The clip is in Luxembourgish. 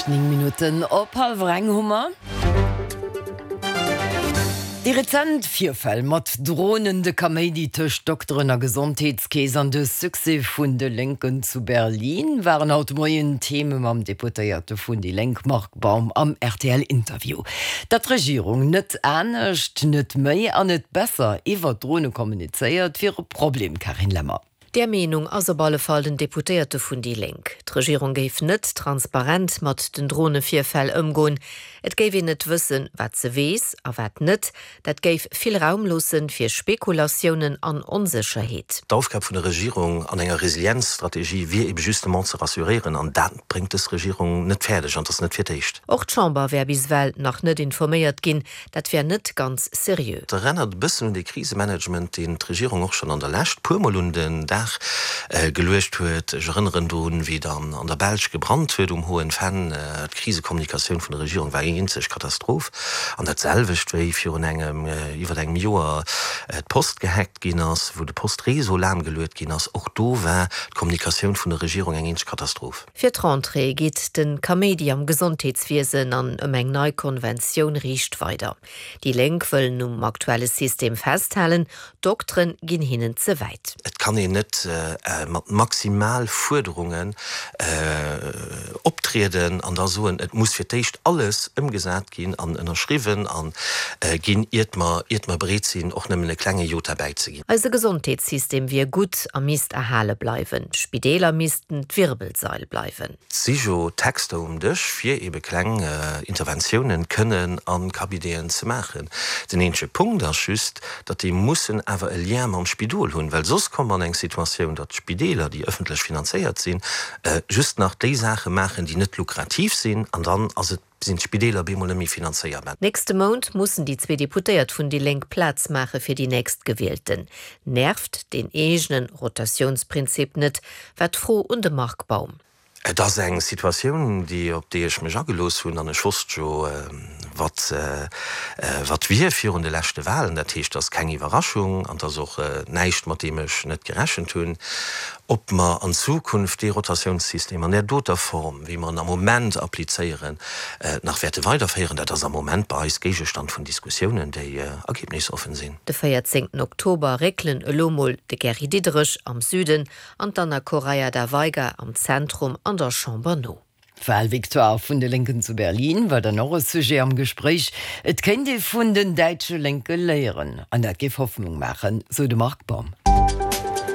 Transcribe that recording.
9 Minutten op hallwer eng hu mer. Déi rezent Virfäll mat Dronen, de Kaméidi tëscht Dokteren a Gesondheetskeess an de Succès vun de Lénken zu Berlin waren haut de Moien Theme mam Deputéierte vun déi Lénk Marc Baum am RTL-Interview. Datt d'Regierung net anescht, net méi an net besser iwwer d'Drone kommunizéiert, wier e Problem, Carine Lemmer. Där Meenung ass op alle Fall den Deputéierte vun déi Lénk. D'Regierung géif net transparent mat den Dronevirfäll ëmgoen. Et géif een net wëssen, wat se weess a wat net. Dat géif vill Raum loosse fir Spekulatiounen an Onsécherheet. D'Aufgab vun der Regierung an enger Resilienzstrategie wier ebe justement ze rassuréieren, an dat bréngt dës Regierung net fäerdeg, an et ass net fir d'éischt. Och d'Chamber wär bis ewell nach net informéiert ginn. Dat wär net ganz seriö. Et erennert e bëssen un dee Krisemanagement, deen d'Regierung och schonn an der Lescht puermol un den Dag geluecht huet. Ech erënneren drun, wéi et an der Belsch gebrannt huet um Hohen Venn. D'Krisekommunikatioun vun der Regierung war eng eenzeg Katastroph. An dat selwecht, wéi virun engem, iwwer engem Joer d'Post gehackt ginn ass, wou de Postréseau lahmgeluet ginn ass. Och do war d'Kommunikatioun vun der Regierung eng eenzeg Katastroph. Fir d'Rentrée geet de Kaméidi am Gesondheetswiesen an ëm eng nei Konventioun riicht weider. Déi Lénk wëllen um aktuelle System festhalen, d'Dokteren ginn hinnen ze wäit. Et kann een net mat maximal Fuerderungen optrieden an da soen, et muss fir d'éischt alles ëmgesat ginn an ënnerschriwwen a ginn, iert mer, iert mer bereet sinn, och nëmmen e klenge Jota bäizeginn. Eise Gesondheetssystem wier gutt a misst erhale bleiwen. D'Spideeler missten d'Wirbelsail bleiwen. Et si jo Texter um Dësch, fir ebe kleng Interventiounen kënnen a Cabineten ze maachen. Den eenzege Punkt ass just, datt déi mussen awer e Lien mam Spidol hunn, well soss komme mer an eng Situatioun, datt d'Spideeler, déi ëffentlech finanzéiert sinn, just nach déi Saache maachen, déi net lukrativ sinn, an dann ass et sinn d'Spideeler bemol net méi finanzéierbar. Nächste Mount mussen déi zwee Deputéiert vun déi Lénk Plaz maache fir déi Nächstgewielten. Nervt deen eegene Rotatiounsprinzip net, war d'Fro un de Marc Baum. Et ass eng Situatioun, déi op déi ech mech agelooss hunn an ech wosst jo, wat wat wier virun de leschte Wahlen. Dat heescht, et ass keng Iwwerraschung an et ass och näischt, mat deem ech net gerechent hunn. Ob mer an Zukunft dee Rotatiounssystem an där doter Form, wéi mer en am Moment applizéieren, nach wäerte weiderféieren, dat ass am Moment bei eis Géigestand vun Diskussiounen, déi ergebnisoffen sinn. De 14 Oktober réckelen elo mol de Gary Diderich am Süden an d'Anna Correia da Veiga am Zentrum an der Chamber no. D'Wahlvictoire vun de Lénken zu Berlin war dann och e Sujet am Gespréich. Et kéint ee vun den däitsche Lénke léieren an dat géif Hoffnung maachen, sou de Marc Baum.